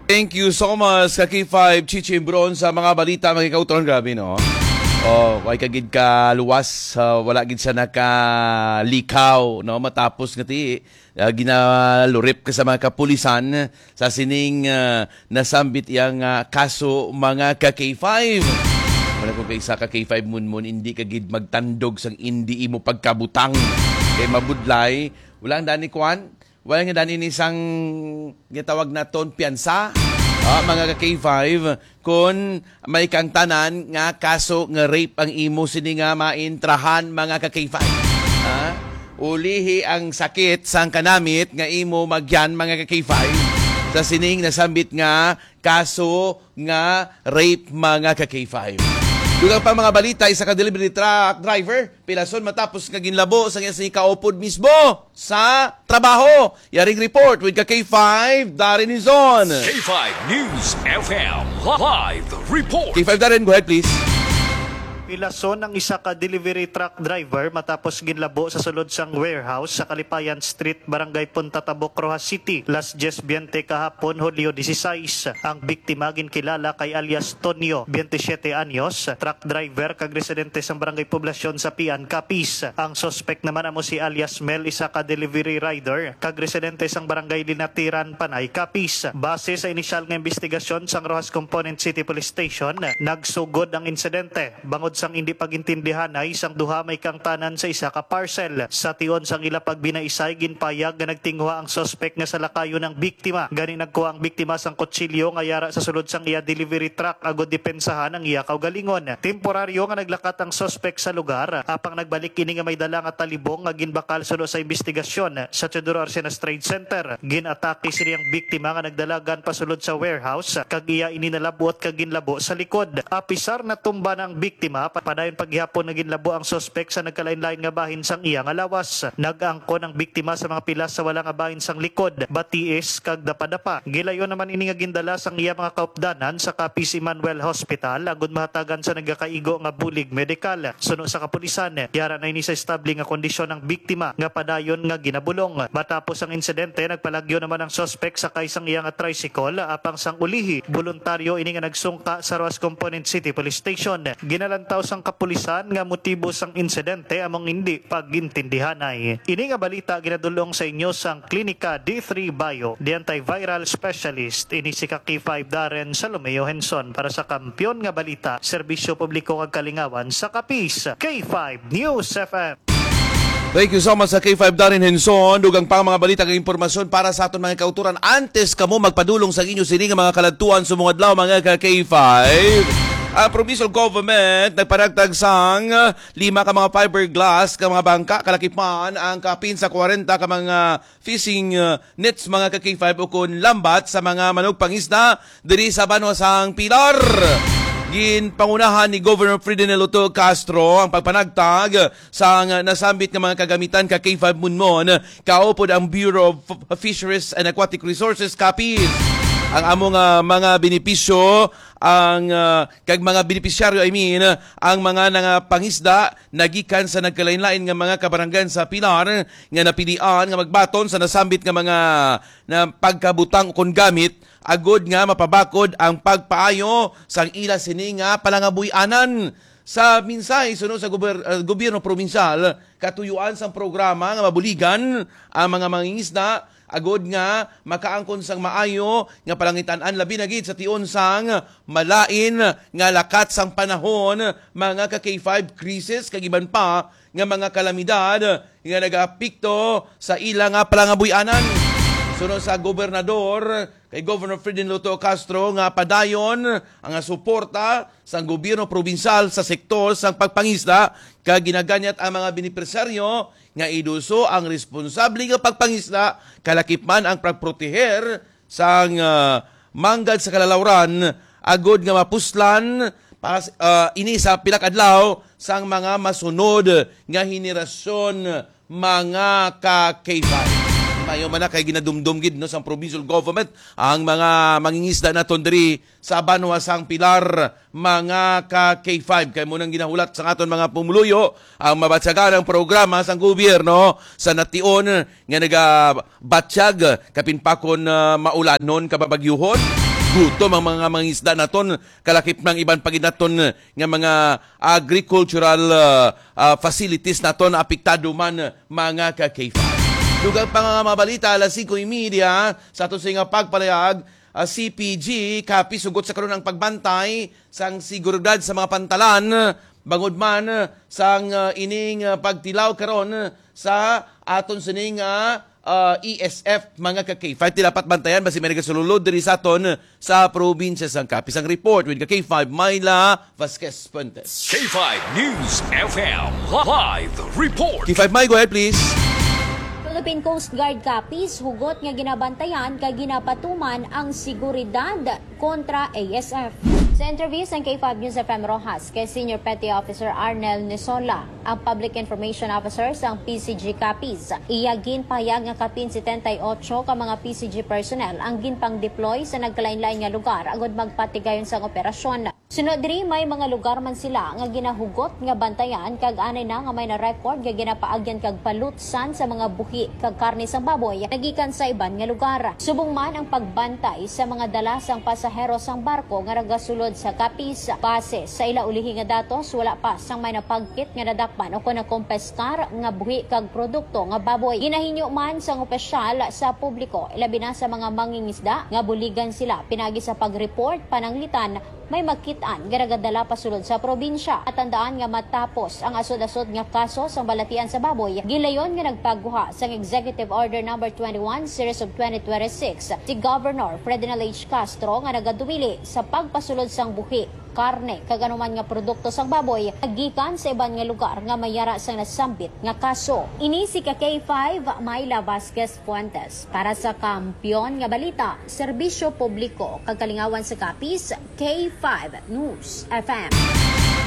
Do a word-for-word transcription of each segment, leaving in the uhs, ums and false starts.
Thank you so much, ka K five Chichi Bron, sa mga balita, mga kauturan. Grabe, no? Oh, way ka gid ka luwas, ah, wala gid siya nakalikaw, no? Matapos nga ti, ah, ginalurip ka sa mga kapulisan sa sining, ah, nasambit iyang, ah, kaso, mga ka K five. Wala ko kay isa ka K five, Munmon, hindi ka gid magtandog sang hindi imo pagkabutang. Kay mabudlay, wala ang dani kwan, wala nga dani ni sang gitawag naton piyansa, ah, mga ka K five, kun may kang tanan nga kaso nga rape ang imo sini nga maintrahan, mga ka K five. Ah, ulihi ang sakit sang kanamit nga imo magyan, mga ka K five, sa sining nasambit nga kaso nga rape, mga ka K five. Dugang pa mga balita, isa ka delivery truck driver pilason matapos nga ginlabo sa iya sini kaupod mismo sa trabaho. Yaring report with ka K five, Darren Izon. K five News F M live report. K five Darren, go ahead, please. Pilason ang isa ka delivery truck driver matapos ginlabo sa sulod sang warehouse sa Kalipayan Street, Barangay Punta Tabok, Roxas City, las diez biyente kahapon, Hulyo dieciséis. Ang biktima ginkilala kay alias Tonyo, biyente siyete anyos, truck driver kag residente sang Barangay Poblacion sa Pian, Capiz. Ang suspek naman amo si alias Mel, isa ka delivery rider kag residente sang Barangay Linatiran, Panay, Capiz. Base sa inisyal nga imbestigasyon sang Roxas Component City Police Station, nagsugod ang insidente bangod sang indi pagintindihanay sang duha may kaangtanan sa isa ka parcel. Sa tion sang ila pagbinaisay, ginpayag nga nagtinguha ang suspek nga salakayon ang biktima. Gani nagkuha ang biktima sang kutsilyo nga yara sa sulod sang iya delivery truck agud depensahan ang iya kaugalingon. Temporaryo nga naglakat ang suspek sa lugar, apang nagbalik ini nga may dala nga talibong nga ginbakal suno sa imbestigasyon sa Teodoro Arcenas Trade Center. Gin-atake sini ang biktima nga nagdalagan pasulod sa warehouse, kag iya ini nalab-ot kag ginlabo sa likod. Apisar natumba na ang biktima, pa-, padayon pa gihapon nga ginlabo ang suspek sa nagkalain-lain nga bahin sang iya nga lawas. Nag-angkon ang biktima sa mga pilas sa wala nga bahin sang likod, batiis, kag dapadapa. Gilayon naman ini nga gindala sang iya mga kaupdanan sa Capiz Emmanuel Hospital agud mahatagan sa nagakaigo nga bulig medikal. Suno sa kapulisan, yara na ini sa estable nga kondisyon ang biktima nga padayon nga ginabulong. Matapos ang insidente, nagpalagyo naman ang suspek sakay sang iya nga tricycle, apang sang ulihi, boluntaryo ini nga nagsungka sa Roxas Component City Police Station. Ginalantaw sang kapulisan nga motibo sang insidente among indi pag-intindihanay. Ini nga balita ginadul-ong sa inyo sang Klinika D three Bio, the antiviral specialist. Ini si ka K five Darren Salomeo Henson para sa Kampiyon nga Balita, Serbisyo Publiko kag Kalingawan sa Capiz, K five News F M. Thank you so much sa K five Darren Henson. Dugang pa ang mga balita kag impormasyon para sa aton mga kauturan. Antes kamo magpadulong sa inyo sini nga mga kaladtuan sa mga adlaw, mga ka K five, ang provincial government nagpanagtag sang lima ka mga fiberglass ka mga bangka, kalakip man ang kapin sa kwarenta ka mga fishing, uh, nets, mga ka K five, ukon lambat sa mga manugpangisda diri sa banwa sang Pilar. Ginpangunahan ni Governor Ferdinand Lotto Castro ang pagpanagtag sang nasambit nga mga kagamitan ka K five Munmon, kaupod ang Bureau of F-, Fisheries and Aquatic Resources, Capiz. Ang among, ah, mga benepisyo, ang, ah, kag mga benepisyaryo, I mean, ang mga nangapangisda nagikan sa nagkalain-lain nga mga kabaranggan sa Pilar nga napilian nga magbaton sa nasambit nga mga na pagkabutang ukon gamit, agud nga mapabakod ang pagpaayo sang ila sini nga palangabuy-anan. Sa mensahe suno sa gober-, ah, gobyerno probinsyal, katuyuan sang programa nga mabuligan ang mga mangingisda, agud nga makaangkon sang maayo nga palangitan-an, labi na gid sa tion sang malain nga lakat sang panahon, mga ka K five, krisis kag iban pa nga mga kalamidad nga nagaapekto sa ila nga palangabuy-anan. Suno sa gobernador, kay Governor Ferdinand Lotto Castro, nga padayon ang suporta sang gobyerno probinsyal sa sektor sang pagpangisda, kag ginaganyat ang mga benepisyaryo nga iduso ang responsable nga pagpangisda, kalakip man ang pagproteher sang, ah, manggad sa kalalawran, agud nga mapuslan pa, ah, ini sa pila ka adlaw sang mga masunod nga henerasyon, mga ka K five. Mayo man na kay ginadumdom gid, no, sang provincial government ang mga mangingisda naton diri sa banwa sang Pilar, mga ka K five. Kay mo nang ginahulat sa aton mga pumuluyo ang mabatyagan ang programa sang gobyerno sa nation nga nagabatyag kapin pa kon, ah, maulanon, kababagyuhon. Gutom ang mga mangisda naton, kalakip ng iban pa gid naton nga mga agricultural, ah, ah, facilities naton apektado man, mga ka-K five. Dugang pa nga mga balita, alas singko y media, sa aton sa nga pagpalayag, ah, C P G, Capiz, hugot sa karon ang pagbantay sang seguridad sa mga pantalan, bangod man sang, ah, ining, ah, pagtilaw karon sa aton sining, ah, ah, E S F, mga ka-K five. Ti dapat bantayan basi may nagasulod diri sa aton sa probinsya sang Capiz. Ang report with ka-K five, Myla Vasquez Fuentes. K five News F M live report. K five, May, go ahead, please. Philippine Coast Guard Capiz hugot nga ginabantayan kag ginapatuman ang seguridad kontra A S F. Sa interview sang K five News F M Roxas kay Senior Petty Officer Arnel Nisola, ang Public Information Officer sang P C G Capiz, iya ginpahayag nga kapin setenta y ocho ka mga P C G personnel ang ginpang-deploy sa nagkalain-lain nga lugar agud magpatigayon sang operasyon. Suno diri, may mga lugar man sila nga ginahugot nga bantayan, kag anay na nga may na-record nga ginapaagyan kag palutsan sa mga buhi kag karne sang baboy nagikan sa iban nga lugar. Subong man ang pagbantay sa mga dala sang pasahero sang barko nga nagasulod sa Capiz, base sa ila ulihi nga datos, wala pa sang may napagkit nga nadakpan o kon nakompeskar nga buhi kag produkto nga baboy. Ginahinyo man sang opisyal sa publiko, ilabi na sa mga mangingisda, nga buligan sila pinagi sa pag-report pananglitan may makit-an nga nagadala pasulod sa probinsya. Matandaan nga matapos ang asod-asod nga kaso sang balatian sa baboy, gilayon nga nagpaguha sang Executive Order Number twenty-one, Series of twenty twenty-six, si Governor Ferdinand H. Castro nga nagaduwili sa pagpasulod sang buhi, karne, kag anuman nga produkto sang baboy nga gikan sa iban nga lugar nga may yara sang nasambit nga kaso. Ini si ka K five, Myla Vasquez Fuentes, para sa Kampiyon nga Balita, Serbisyo Publiko, kag Kalingawan sa Capiz, K five News F M.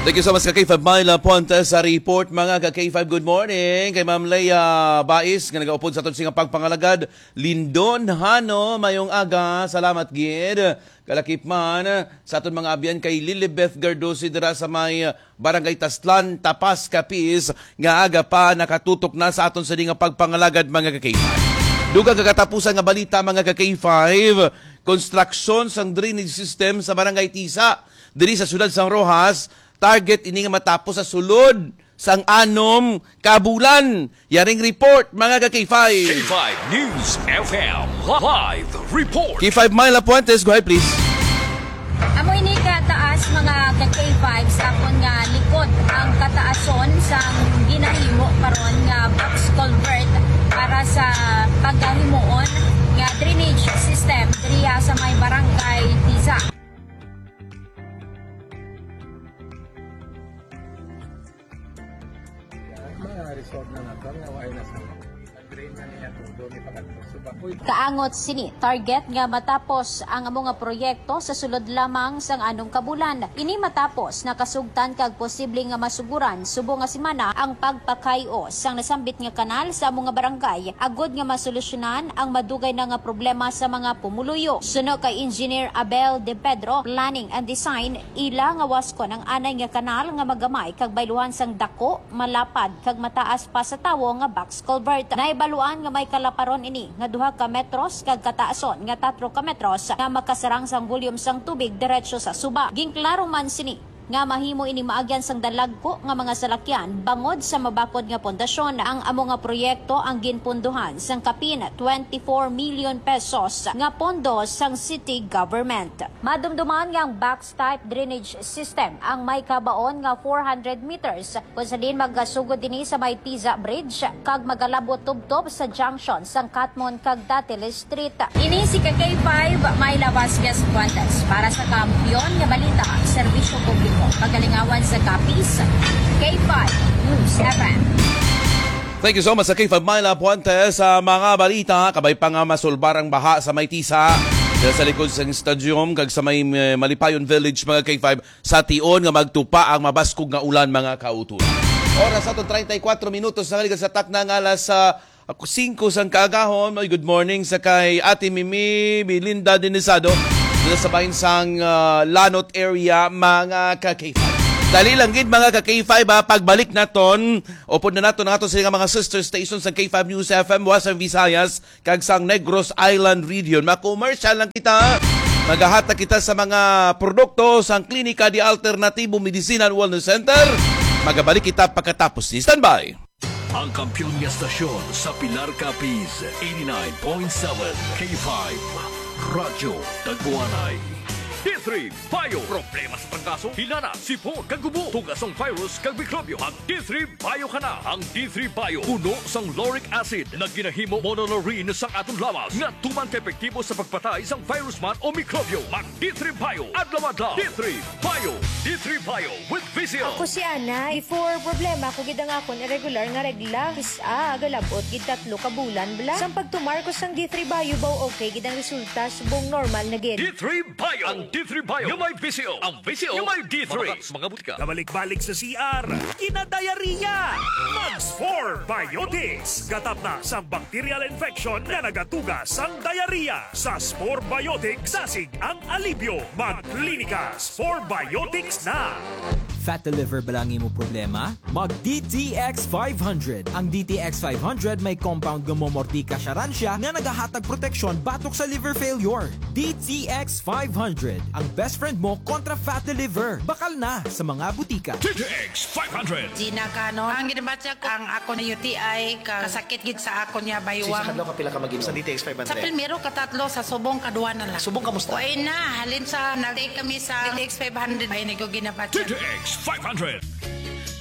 Thank you so much, ka K five Myla Puente, sa report, mga ka K five. Good morning kay Ma'am Leia Bais, nga nagaupod sa aton sing pagpangalagad. Lindon Hano, mayong aga. Salamat gid. Kalakip man sa aton mga abyan kay Lilibeth Gardosi dira sa may Barangay Taslan, Tapas, Capiz, nga aga pa nakatutok na sa aton sini nga pagpangalagad, mga ka K five. Dugang kagatapusan nga balita, mga ka K five, konstruksyon sang drainage system sa Barangay Tisa, diri sa siyudad sang Roxas, target ini nga matapos sa sulod sang anom ka bulan. Yaring report, mga ka K five. K five News F M live report. K five Myla Puentes, go ahead, please. Amo ini kataas, mga ka K five, sa akon nga likod ang kataason sang ginahimo karon nga box culvert para sa pagkahimuon nga drainage system diriya sa may Barangay Tisa. Mga resort na nato nga wala na sa drain na niya, kung doon ipakatapos. So, bakoy. Kaangot sini, target nga matapos ang amo nga proyekto sa sulod lamang sang anom ka bulan. Ini matapos, nakasugtan kag posible nga masuguran subong nga semana ang pagpakay-o sang nasambit nga kanal sa amo nga barangay, agud nga masolusyonan ang madugay na nga problema sa mga pumuluyo. Suno kay Engineer Abel De Pedro, Planning and Design, ila nga waskon ang anay nga kanal nga magamay kag bayluhan sang dako, malapad, kag mataas pa sa tawo nga box culvert. Nahibaluan nga may kalaparon ini nga duha ka metros kag kataason nga tatlo ka metros nga makasarang sang volume sang tubig diretso sa suba. Ginklaro man sini nga mahimo ini maagyan sang dalagko nga mga salakyan bangod sa mabakod nga pundasyon. Ang amo nga proyekto ang ginpundohan sang kapin twenty-four million pesos nga pondo sang city government. Madumduman nga ang box type drainage system ang may kabaon nga four hundred meters, kung sa diin magasugod ini sa may Tiza Bridge kag magalabo tubtob sa junction sang Catmon kag Datil Street. Ini si ka K five, Myla Vasquez Fuentes, para sa Kampiyon nga Balita, Serbisyo Publiko, Pagalingawan sa Capiz, K five News F M. Thank you so much sa K five Myla Puente sa mga balita. Kabay pa nga masulbar ang baha sa may Tisa, dira sa likod sang stadium kag sa may, eh, Malipayon Village, mga K five, sa tion nga magtupa ang mabaskog nga ulan, mga kauturan. Oras aton treinta y cuatro minutos na naligas sa takna nga alas, ah, singko sang kaagahon. Ay, good morning sa kay Ate Mimi Belinda Denisado, dito sa bahin sang, ah, Lanot area, mga ka K five. Dali lang gid, mga ka K five, ha, pagbalik naton, upod na nato nga ato sila nga mga sister stations sang K five News F M, Western Visayas, kag sang Negros Island Region. Ma-commercial lang kita. Magahatag kita sa mga produkto sang Klinika de Alternatibo Medicina and Wellness Center. Magabalik kita pagkatapos ni Standby. Ang kampiyon nga stasyon sa Pilar, Capiz, eighty-nine point seven K five, Radyo Tagwanay. D three Bio. Problema sa trangkaso, hilana, sipon, kag gubo, tugas sang virus kag mikrobyo. Mag D three Bio ka na. Ang D three Bio puno sang lauric acid nga ginahimo monolerene sang aton lawas nga tuman ka epektibo sa pagpatay sang virus man o mikrobyo. Mag D three Bio adlaw-adlaw. D three Bio. D three Bio with Visil. Ako si Ana. Before, problema ko gid ang akon irregular nga regla. Kis-a, galabot gid tatlo ka bulan bala. Sang pagtumar ko sang D three Bio, baw okay gid ang resulta, subong normal na gid. D three Bio. Ang D three Bio nga may Visil. Ang Visil nga may D three. Mga butika. Kabalik-balik sa C R, kinadayariya. Mag Spore Biotics. Gatap na sang bacterial infection nga nagatuga sang diarrhea. Sa Spore Biotics, dasig ang alibyo. Mag Klinika Spore Biotics na. Fat liver ba lang imo problema? Mag D T X five hundred. Ang D T X five hundred may compound nga momortika siya nga nagahatag proteksyon batok sa liver failure. D T X five hundred, ang best friend mo kontra fatty liver. Bakal na sa mga butika. D T X five hundred. Gina Canon. Ang ginabatya ko, ang ako na U T I, ka-, kasakit gid sa ako niya, baywang. Sa adlaw ka pila ka mag-inom? Sa D T X five hundred? Sa primero, katatlo, sa subong, kadua na lang. Subong, kamusta? Way na, halin sa nag-take kami sa D T X five hundred, ay, nagko ginabatya. D T X five hundred.